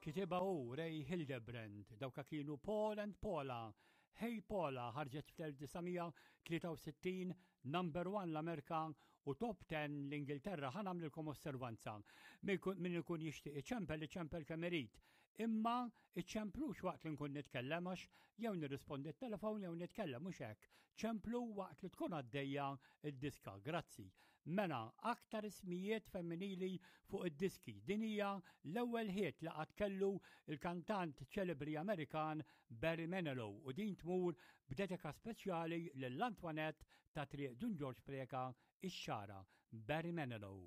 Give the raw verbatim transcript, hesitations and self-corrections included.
Kitibha hu Ray Hildebrand, dawka kienu Paul and Paula. Hey Paula ħarġet fl-elf disa' mija tlieta u sittin, number one l-Amerika u top ten l-Ingilterra. Ħa nagħmlilkom osservanza. Min ikun jixtieq iċempel, iċempel kemm irid. Imma iċemplux waqt li nkun nitkellem, għax jew nirrispondi t-telefon jew nitkellem, mhux hekk. Ċemplu waqt li tkun għaddejja id-diska. Grazzi. Mela, aktar ismijiet femminili fuq id-diski. Din hija l-ewwel hit li qatt kellu il-kantant ċelebri Amerikan Barry Manilow u din tmur b'dedika speċjali lil Antoinette ta' Triq Dun Ġorġ Preca, ix-Xagħra. Barry Manilow.